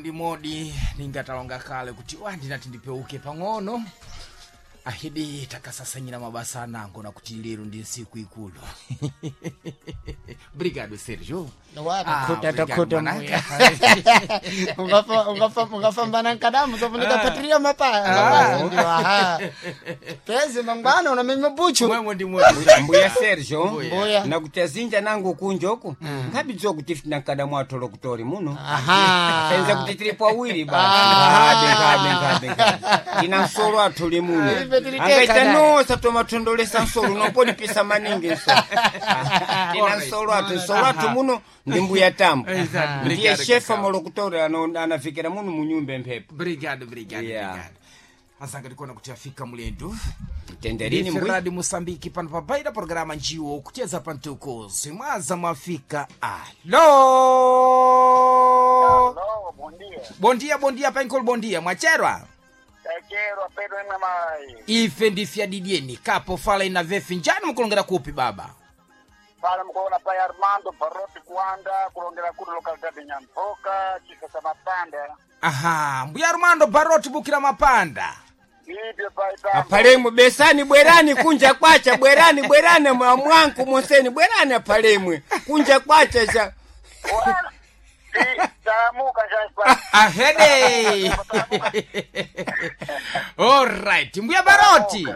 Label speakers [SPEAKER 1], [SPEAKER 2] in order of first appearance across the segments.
[SPEAKER 1] ndi modi ningatalonga kale kuti wa ndinati ndipeuke pang'ono ahidi takasasanyira mabasa anango nakuti lero ndi nsiku ikulu. Brigado Sergio.
[SPEAKER 2] Takhuta
[SPEAKER 1] obrigado,
[SPEAKER 2] takhuta
[SPEAKER 1] mwanaka.
[SPEAKER 2] mbuya. Ungafambana nkadamu zofunika patiria mapaya ndio aha pezi mangwana unamenya buchu
[SPEAKER 1] Mwemwe ndi modi.
[SPEAKER 3] Mbuya Sergio.
[SPEAKER 2] Mbuya.
[SPEAKER 3] Nakuti azinja nangu kunjoku ngabidziwa kuti ife tinankadamu atolo kutori muno.
[SPEAKER 2] Aha.
[SPEAKER 3] Senza kuti tilipo awiri basi. Ngabe ngabe ngabe ngabe tina nsolo athuli muno.
[SPEAKER 2] Ife tili teka
[SPEAKER 3] angaita
[SPEAKER 2] naye.
[SPEAKER 3] nosa tomathondolesa nsolo nopolipisa maningi nsolo. Tina nsolo athu, nsolo athu muno ndi mbuya Tambo.
[SPEAKER 1] Exato.
[SPEAKER 3] Ndiye
[SPEAKER 1] Obrigado,
[SPEAKER 3] shefa
[SPEAKER 1] Cacau.
[SPEAKER 3] molokutori anafikira muno munyumba emphepo.
[SPEAKER 1] Obrigado, obrigado.
[SPEAKER 3] Yeah.
[SPEAKER 1] Obrigado. Azanga ndikuona kuti afika mulendo.
[SPEAKER 3] Tenderini mbuya.
[SPEAKER 1] Radio Moçambique pano pabaida programa njiwo kucheza pantuko simwaza mwafika. Alo.
[SPEAKER 4] Aló, bom dia.
[SPEAKER 1] Bondia bondia pankolo bondia mwacherwa.
[SPEAKER 4] Tacherwa Pedro imwe mai.
[SPEAKER 1] Ife ndifya didieni kapo fala ina vefi njani mukulongera kupi baba.
[SPEAKER 4] Pala mkuona pai Armando Baroti Kuanda kulongera kuno localidade Nyamboka chisa cha Mapanda.
[SPEAKER 1] Aha, mbuya Armando Baroti bukira mapanda.
[SPEAKER 4] Ibyo pai tambo.
[SPEAKER 3] Apalemu besani bwerani kunja kwacha bwerani bwerani mwanku monseni bwerani apalemwe kunja kwacha cha
[SPEAKER 4] Wala. Si tamuka cha
[SPEAKER 1] Ahede. Alright, mbuya Baroti.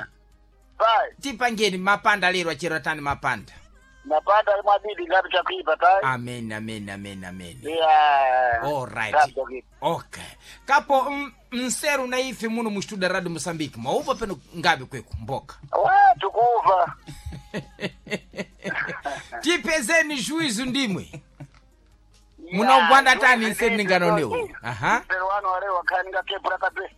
[SPEAKER 4] Pai.
[SPEAKER 1] Tipangeni mapanda lero achero tani mapanda.
[SPEAKER 4] Mapanda mwadidi ngapi cha kuipa tai.
[SPEAKER 1] Amen, amen, amen, amen.
[SPEAKER 4] Yeah.
[SPEAKER 1] Alright.
[SPEAKER 4] Ngapi cha kuipa.
[SPEAKER 1] Okay. Kapo mseru na ife muno mustuda Radio Mosambiki. Mwauva peno ngabe kweku mboka.
[SPEAKER 4] Wa tukuva.
[SPEAKER 1] Tipezeni juizu ndimwe. Munaugwanda tani nseru ninganonewo. Aha.
[SPEAKER 4] Pero wanu wale wakaninga kepura kabisa.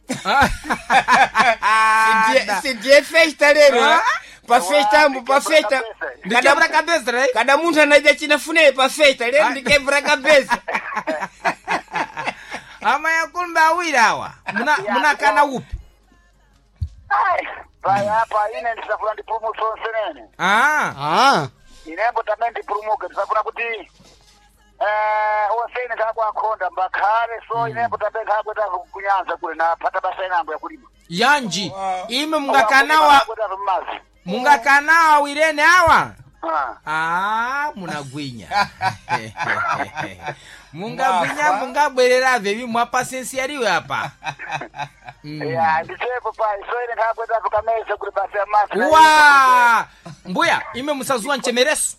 [SPEAKER 3] sidie festa lero
[SPEAKER 1] Ah.
[SPEAKER 3] pa festa ambu pa festa.
[SPEAKER 1] Ndikebra kabeza right?
[SPEAKER 3] Kada munthu anaja chinafuneyo pa festa lero ndikebra kabeza.
[SPEAKER 1] Ama yakulumba awiri awa. Muna munakana upi?
[SPEAKER 4] Ai, pai hapa ine ndisafuna ndipulumutso nsenene.
[SPEAKER 1] Ah.
[SPEAKER 2] Ah.
[SPEAKER 4] Inembo tamene ndipulumuke ndisafuna kuti osene nkakwakhonda mbakhale so inembo tamene nkakweta kunyanza kule napata basa inango yakulima.
[SPEAKER 1] Yanji. Ime mungakanawa
[SPEAKER 4] Kweta mmazi.
[SPEAKER 1] mungakanawa awirene awa.
[SPEAKER 4] Ah.
[SPEAKER 1] Ah, munagwinya. Mungagwinya mungabwerera vevi mwapasensiariwe apa.
[SPEAKER 4] Ya ndisepo pai so ine nkakweta kamesa kule basa ya mazi.
[SPEAKER 1] Wa! Mbuya, ime musazuwa nchemereso.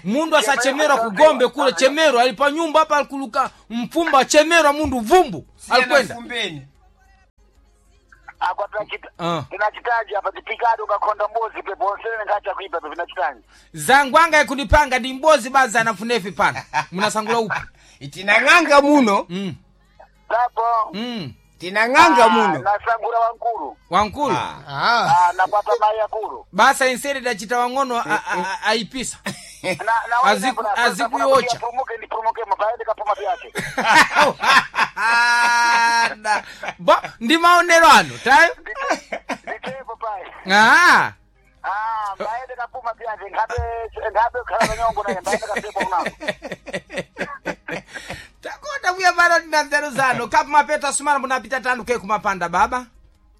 [SPEAKER 1] Mundu asachemerwa kugombe kule chemerwa alipa nyumba hapa alikuluka mfumba achemerwa mundu vumbu alikwenda.
[SPEAKER 3] Fumbeni.
[SPEAKER 4] Akwa tunachita
[SPEAKER 1] Ah.
[SPEAKER 4] tunachitaji apa tipikadi ukakhonda mbuzi pepo onsene nkacha kuipa pepo tunachitaji.
[SPEAKER 1] Zangwanga ikunipanga ndi mbozi baza anafunefi pano. Munasangula upi?
[SPEAKER 3] Tinang'anga muno.
[SPEAKER 4] Tapo.
[SPEAKER 3] Tinang'anga muno.
[SPEAKER 4] Nasangura wankulu.
[SPEAKER 1] Wankulu.
[SPEAKER 3] Ah.
[SPEAKER 2] Ah.
[SPEAKER 4] Ah, nakwata mai yakulu.
[SPEAKER 1] Basa inseri dachita wang'ono aipisa.
[SPEAKER 4] Na na
[SPEAKER 1] Azikuyocha.
[SPEAKER 4] Pulumuke ndipulumuke mabaende kapuma vyake.
[SPEAKER 1] Ba ndi maonero ano tayo.
[SPEAKER 4] Nditepo pai.
[SPEAKER 1] Ah.
[SPEAKER 4] Ah, mbaende kapuma vyake ngabe ngabe khala kanyongo naye mbaende kapepo kunako.
[SPEAKER 1] Takonda kuya pano tina nzeru zano kapu mapeto asumana munapita tanu ke kumapanda baba.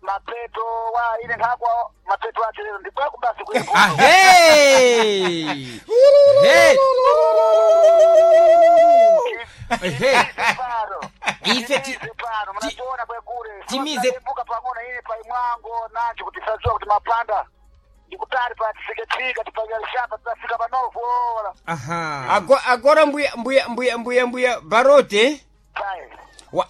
[SPEAKER 4] Mapeto wa ine ngakwa mapeto ache lero ndibwaku basi kuye.
[SPEAKER 1] Ahe! Hey! Ehe.
[SPEAKER 4] Paro.
[SPEAKER 1] Ife
[SPEAKER 4] pano mnachiona bwe kule.
[SPEAKER 1] timize-
[SPEAKER 4] Mbuka pang'ono ine pa imwango nacho kuti sadziwa kuti mapanda. Ndikutali pa tisiketika tipanyalishapa tasika panovu ora.
[SPEAKER 1] Aha.
[SPEAKER 3] Agora mbuya mbuya mbuya mbuya mbuya Barote.
[SPEAKER 4] Pai.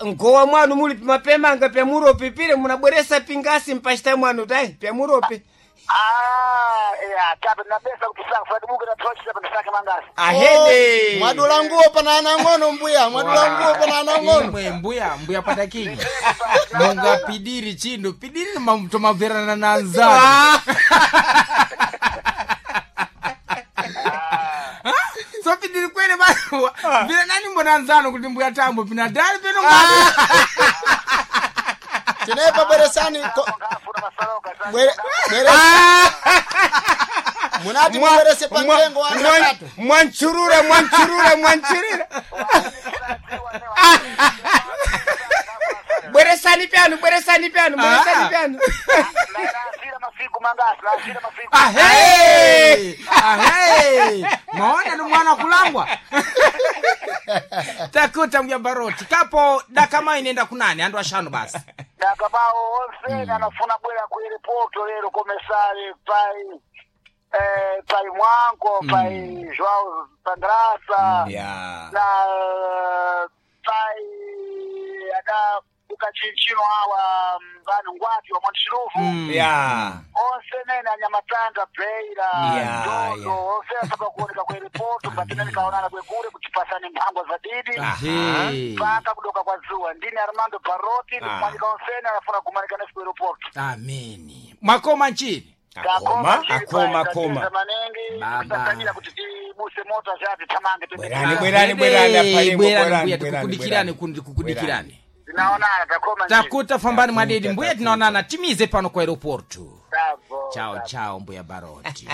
[SPEAKER 3] Nkowa mwanu muli mapemanga pyamuropi pile munabweresa pingasi mpachita mwanu tai pyamuropi.
[SPEAKER 4] Ah, ya, tape nabesa kuti saka fadibuke na tochi tape ndisake mangasi.
[SPEAKER 3] Ahede.
[SPEAKER 2] Mwadula nguo pana ana ng'ono mbuya, mwadula nguo pana ana ng'ono.
[SPEAKER 1] Imwe mbuya mbuya patakinyi. Mungapidiri chindu pidiri tomabverana na nzano. So pidiri kwene ba vira nani mbona nzano kuti mbuya Tambo pinadali peno ngati.
[SPEAKER 2] Tinepa bweresani
[SPEAKER 4] Ngafuna masaloka.
[SPEAKER 2] bwere Munati mubwerese pa mtengo wa nakatu.
[SPEAKER 3] Mwanchurura mwanchurura mwanchurura. pyanu, bweresani pyanu, bweresani
[SPEAKER 1] Ah.
[SPEAKER 3] pyanu.
[SPEAKER 4] Nasira masiku mangasi, nasira masiku.
[SPEAKER 1] Ahe! Ahe! Maona ni mwana kulangwa. Takuta mja Baroti. Kapo dakama inenda kunani andu ashanu basi.
[SPEAKER 4] Dakabao onse anafuna bwera ku airport lero komesare pai pai Mwanko, pai João Pandrasa.
[SPEAKER 3] Ya.
[SPEAKER 4] Na pai ada ukachinchino awa vanhu ngwati wa Montiluvu.
[SPEAKER 3] Ya.
[SPEAKER 4] Onse nene anyamatanga Beira,
[SPEAKER 3] Ya,
[SPEAKER 4] Dodo,
[SPEAKER 3] ya.
[SPEAKER 4] onse asaba kuoneka ku airport mbatina nikaonana kwekure kuchipasani mphangwa za didi.
[SPEAKER 1] Ahe.
[SPEAKER 4] Mpaka kudoka kwa zuwa ndini Armando Baroti
[SPEAKER 3] Ah.
[SPEAKER 4] ndikumanyika onsene anafuna kumanika nesi ku airport.
[SPEAKER 1] Amini. Mwakoma nchini.
[SPEAKER 3] Akoma, akoma, akoma.
[SPEAKER 4] Maningi
[SPEAKER 1] Baba.
[SPEAKER 4] kusakanyira kuti tibuse moto zati tamange
[SPEAKER 3] Bwerani, bwerani, bwerani, apalimo,
[SPEAKER 1] Bwerani,
[SPEAKER 3] bwerani,
[SPEAKER 1] mbuya,
[SPEAKER 3] bwerani,
[SPEAKER 1] tikukudikirani
[SPEAKER 3] bwerani.
[SPEAKER 1] kundi kukudikirani.
[SPEAKER 4] Tinaonana takoma nchini.
[SPEAKER 1] Takuta fambani mwadidi
[SPEAKER 3] Takuta,
[SPEAKER 1] mbuya
[SPEAKER 3] takuta.
[SPEAKER 1] tinaonana timize pano kwa aeroportu.
[SPEAKER 4] Bravo,
[SPEAKER 1] Chao
[SPEAKER 4] bravo.
[SPEAKER 1] chao mbuya Baroti.